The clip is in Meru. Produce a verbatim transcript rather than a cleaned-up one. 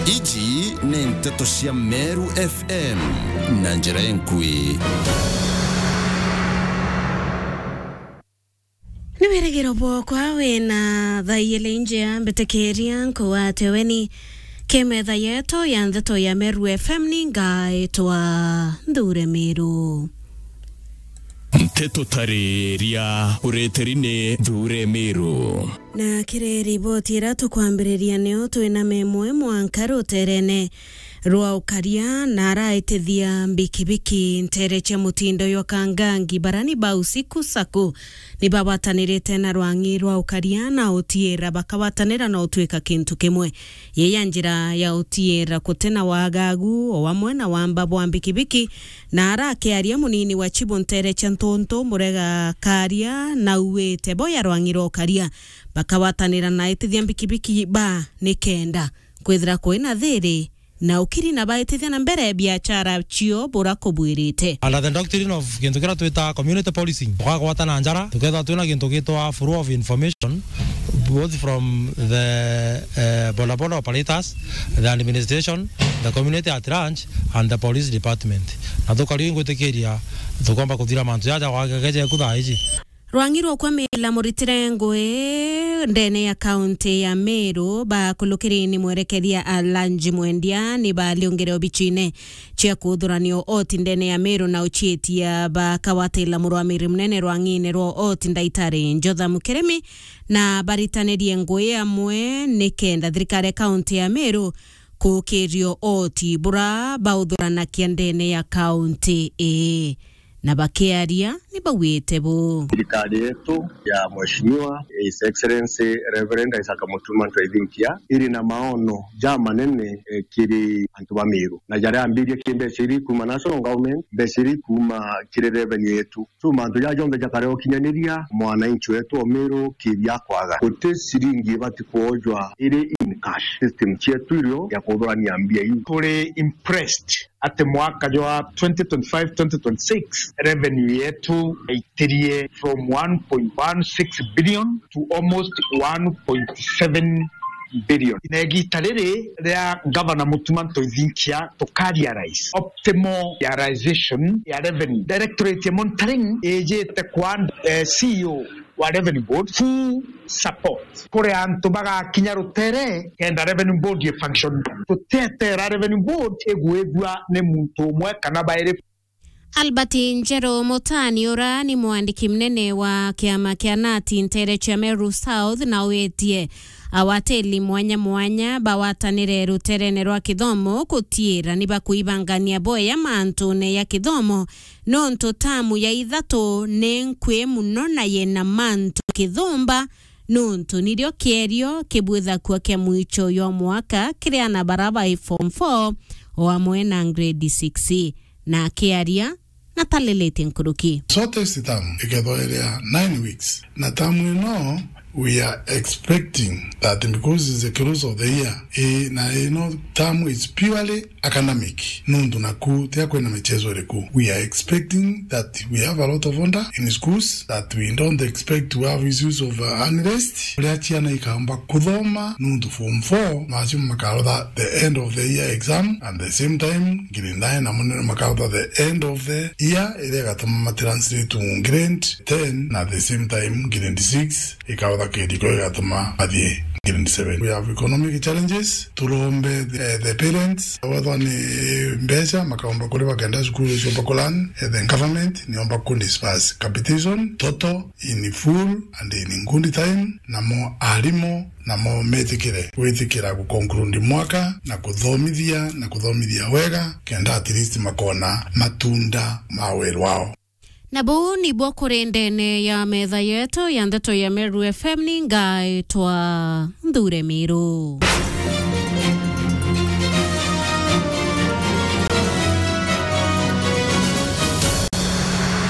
Iji ni nteto cia Meru F M na njira enkui. Ni wirigiro bwokwa wina thaa ijiri njea, mbitikiria nkugwate weni ki metha yetu ya nteto ya Meru F M, ni ngaitwa Nthure Miru. Nteto tariria ureteri ni Nthure Miru. Na kiri riboti iria tukwambiriria, nio twina memwe mwanka ruterene rwa ukaria na araitithia mbikibiki ntere cia mutindo jwa Kangangi barani ba Usiku Sacco ni bagwatanirite na rwang'i rwa ukaria na utiira bakagwatanira na utwika kintu kimwe. Yii ya njira ya utiira guti na wagagu o amwe na wamba bwa mbikibiki, na arakiaria munini wa chibu ntere cia Ntuntu Murega Karia na auite bo ya rwang'i rwa ukaria bakagwatanira na aitithia mbikibiki ba nikenda kwithira kwina thiri na ukiri na baitithia na mbere biachara cio bura kubwirite. Under the doctrine of gintu kiria twita community policing, tukagwatana njara, tukethirwa twina gintu gitwa flow of information, both from the, eh, bodaboda operators, the administration, the community at large, and the police department. Na tukari ngwitikiria tukomba kuthira mantu jaja gwageje ku thaa iji. Rwang'i rwa kwamila muritire ngui ndene ya kaunti ya Meru, bakulukiri ni mwerekeria Alanji Mwendia ni baliungire obichine cia kuthurania ooti ndene ya Meru na uchiitia bakawatila murwamiri munene rwang'ine rwa ooti Ndaitari Jotham Kirimi na baritanirie ngui amwe nikenda thirikari ya kaunti ya Meru kukirio ooti bura bauthuranakia ndene ya kaunti ii. Na bakiaria ni bauite bu. Thirikari yetu ya Mheshimiwa His Excellency Reverend Isaac Mutuma Ntoithinkia iri na maono ja manene, eh, kiri antu ba Meru, na jaria ambirie ki mbeca iri kuuma national government, mbeca iri kuuma kiri revenue yetu. So, mantu jaja jonthe jakare ukinyaniria mwananchi wetu o Meru kiri akwaga. Guti ciringi ibati kwojwa iri in cash. System cietu irio ya kuthurania mbia iu. Turi impressed ati mwaka jwa twenty twenty-five twenty twenty-six, revenue yetu yaitirie from one point one six billion to almost one point seven billion. Na igita riri ria Governor Mutuma Ntoithinkia, tuka realize optimal realization ya revenue. Directorate ya Monitoring ijite kwa, eh, C E O wa Revenue Board full support. Kuri antu bagakinya rutere kenda Revenue Board i function. Tutetera Revenue Board igwithua ni muntu umwe kana bairi. Albert Njeru Mutani, ura ni mwandiki munene wa kiama kia nati ntere cia Meru South, na witie awatili mwanya mwanya bawatanire ruterene rwa kithomo gutiira ni bakuibangania bwega mantune ya kithomo, nontu tamu ya ithatu ni nkui muno na yina mantu kithumba, nontu nirio kierio kibwithakua kia mwicho jwa mwaka kiri ana bara bai form four o amwe na grade six. Na akiaria na talilitie nkuruki. Shortest term ikethwa iria nine weeks. Na term ino, we are expecting that because it's the close of the year, eh, na ino term is purely academic. Nundu naku tia kwina michezo iriku. We are expecting that we have a lot of order in schools, that we don't expect to have issues of, uh, unrest. Uria ciana ikamba kuthoma, nundu form four, macio makarotha the end of the year exam, and the same time, grade nine na munene makarotha the end of the year, iria igatuma matranslate to grade ten, na the same time, grade six ikarotha kiriko igatuma mathie grade seven. We have economic challenges, turombe the, the parents, wethwa ni mbeca makaomba kuriva kenda cukuru ciomba kulan, eh, the government niomba kudisperse capitation, total, in full and in good time, namo arimu namo metikire gwitikira guconclude mwaka na kuthomithia na kuthomithia wega, kenda at least makona matunda ma wira wao. Na buu nibwo kuri ndene ya metha yetu ya ndeto ya Meru F M, ni ngaitwa Nthure Miru.